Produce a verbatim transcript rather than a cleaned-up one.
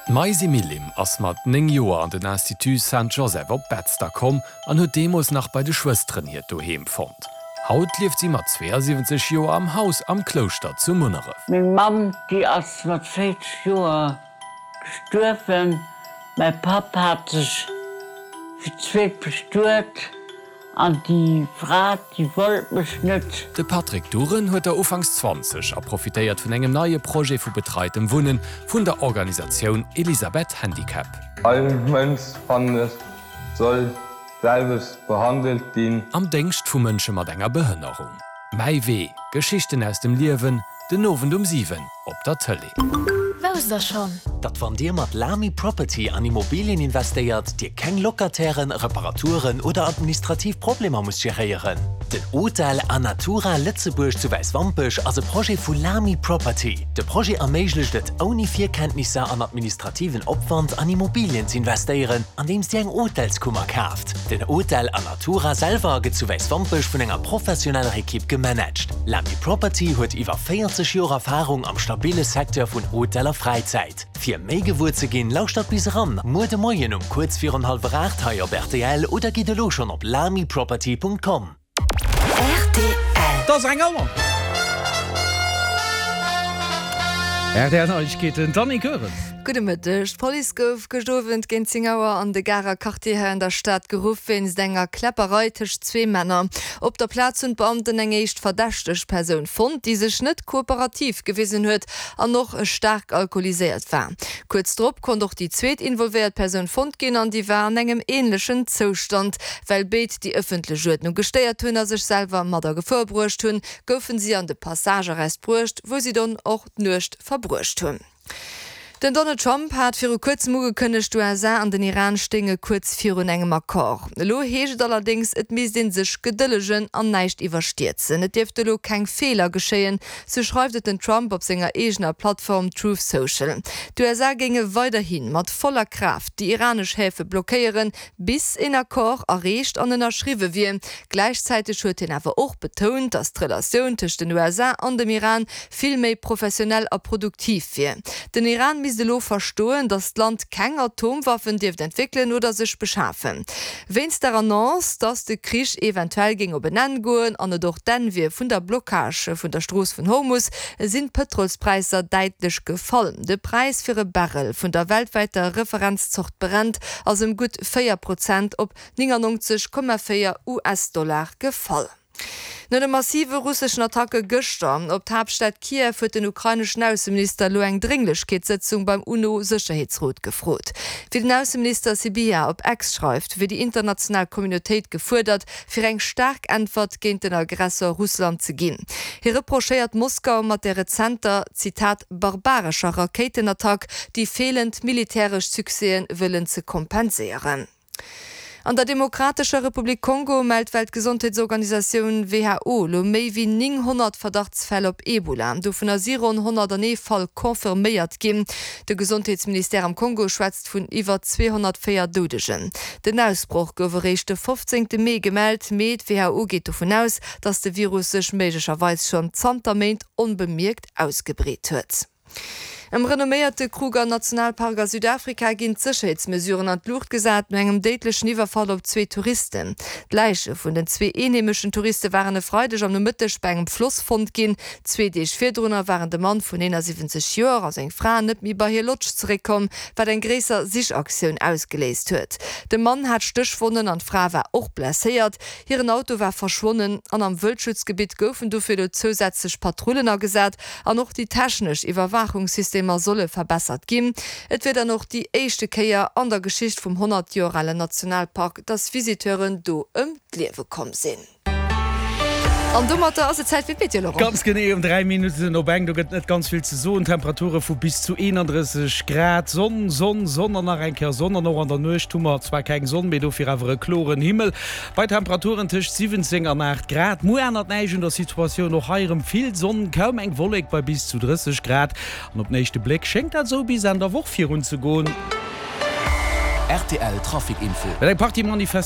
D'Maisi Millim ass mat néng Joer an den Institut Saint-Joseph op Betzder komm an huet deemools nach bei de Schwësteren hiert Doheem fonnt. Haut lieft si mat zweeasiwwenzeg Joer am Haus am Klouschter zu Munneref. Meng Mamm, déi ass mat véierzeg Joer gestuerwen. Mäi Papp hat sech fir d'zweet bestuet an déi Fra, déi wollt mech net. De Patrick Duren huet der ufanks zwanzeg a profitéiert vun engem neie Projet vu betreitem Wunnen vun der Organisatioun Elisabeth Handicap. All Mënsch, fannen ech, soll d'selwecht behandelt ginn. Am Déngscht vu Mënsche mat enger Behënnerung. Mäi Wee, Geschichten aus dem Liewen, den Owend um siwen op der Tëlee. Wousst der schonn? Datt wann Dir mat Lamy Property an Immobilien investéiert, Dir keng Locatairen, Reparaturen oder administrativ Problemer musst geréieren? Den Hotel Anatura Lëtzebuerg zu Wäiswampech ass e Projet vu Lamy Property. De Projet erméiglecht et, ouni Virkenntnisser an administrativen Opwand an Immobilien z'investéieren, andeems Dir eng Hotelskummer kaaft. Den Hotel Anatura selwer gëtt zu Wäiswampech vun enger professioneller Ekipp gemanagt. Lamy Property huet iwwer véierzeg Joer Erfarung am stabille Secteur vun Hotel a Fräizäit. Fir méi gewuer ze ginn, lauschtert bis eran muer de Moien um kuerz virun hallwer aacht hei op rtl oder gitt elo schonn op lamyproperty.com. Rtl. Et ass eng Auer. Rtl Neiegkeeten, d'Annie Goerens. Gudde Mëtteg. D'Police gouf gëscht Owend géint zéng Auer an de Garer Quartier hei an der Stad geruff wéinst enger Kläpperei tëscht zwee Männer. Op der Plaz hunn d'Beamten eng éischt verdächteg Persoun fonnt, déi sech net kooperativ gewisen huet an och staark alkoholiséiert war. Kuerz drop konnt och déi zweet involvéiert Persoun fonnt ginn an déi war an engem änlechen Zoustand. Well béid déi ëffentlech Uerdnung gestéiert hunn a sech selwer mat a Gefor bruecht hunn, goufen si an de Passagearrest bruecht, wou si dunn och d'Nuecht verbruecht hunn. Den Donald Trump hat viru kuerzem ugekënnegt, d'USA an den Iran stéinge kuerz virun engem Accord. Elo heescht et allerdéngs, et misst ee sech gedëllegen an näischt iwwerstierzen. Et dierft elo keng Feeler geschéien, sou schreift et den Trump op senger eegener Plattform Truth Social. D'USA géinge weiderhi mat voller Kraaft déi iranesch Häfe blockéieren, bis een Accord erreecht an ënnerschriwwe wier. Gläichzäiteg huet hien awer och betount, datt d'Relatioun tëscht den USA an dem Iran vill méi professionell a produktiv wier. Den Iran misst elo verstoen, datt d'Land keng Atomwaffen dierft entwéckelen oder sech beschafen. Wéinst der Annonce, datt de Krich eventuell géing op en Enn goen an et och d'Enn wier vun der Blockage vun der Strooss vun Hormus, sinn d'Pëtrolspräisser däitlech gefall. De Präis fir e Barrel vun der weltwäiter Referenzzort Brent ass ëm gutt véier Prozent op néngannonzeg Komma véier US-Dollar gefall. No de massive russeschen Attacke gëschter op d'Haaptstad Kiew huet den ukraineschen Ausseminister elo eng Drénglechkeetssëtzung beim UNO-Sécherheetsrot gefrot. Wéi den Ausseminister Sybiha op X schreift, wier déi international Communautéit gefuerdert, fir eng staark Äntwert géint den Aggressor Russland ze ginn. Hie reprochéiert Moskau mat der rezenter, Zitat, barbarescher Rakéitenattack déi feelend militäresch Succèsen wëllen ze kompenséieren. An der Demokratescher Republik Kongo mellt d'Weltgesondheetsorganisatioun who elo méi wéi nénghonnert Verdachtsfäll op Ebola. Dovunner si ronn honnertanee Fall confirméiert ginn. De Gesondheetsministère am Kongo schwätzt vun iwwer zweehonnertvéier Doudegen. Den Ausbroch gouf eréischt de fofzéngte Mee gemellt, mee d'WHO geet dovun aus, datt de Virus sech méiglecherweis schonn zanter Méint onbemierkt ausgebreet huet. Am renomméierte Kruger Nationalpark a Südafrika ginn d'Sécherheetsmesuren an d'Luucht gesat no engem déidlechen Iwwerfall op zwee Touristen. D'Läiche vun den zwee eenheemeschen Touriste waren e Freideg am Nomëtteg bei engem Floss fonnt ginn. Zwee Deeg virdrunner waren de Mann vun eenasiwwenzeg Joer a seng Fra net méi bei hir Lodge zeréckkomm, wat eng gréisser Sichaktioun ausgeléist huet. De Mann hat Stéchwonnen an d'Fra war och blesséiert. Hiren Auto war verschwonnen an am Wëldschutzgebitt goufen dofir elo zousätzlech Patrullen agesat an och déi technesch Iwwerwaachungssystemer solle verbessert ginn. Et wier dann och déi éischte Kéier an der Geschicht vum honnert Joer alen Nationalpark, dass Visiteuren do ëm d'Liewe komm sinn. An domatter ass et Zäit fir d'Meteo, Laurent. Ganz genee um dräi Minutten op eng. Do gëtt net ganz vill ze soen. Temperature vu bis zu eenandrësseg Grad. Sonn, Sonn, Sonn an nach eng Kéier Sonn. An och an der Nuecht hu mer zwar keng Sonn, mee dofir awer e kloren Himmel. Bei Temperaturen tëscht siwwenzéng an aacht Grad. Muer ännert näischt un der Situatioun, och hei erëm vill Sonn, kaum eng Wollek bei bis zu drësseg Grad. An op den éischte Bléck schéngt dat esou bis Enn der Woch virun ze goen. Rtl Trafic Info. Well eng Partie Manifestatioune.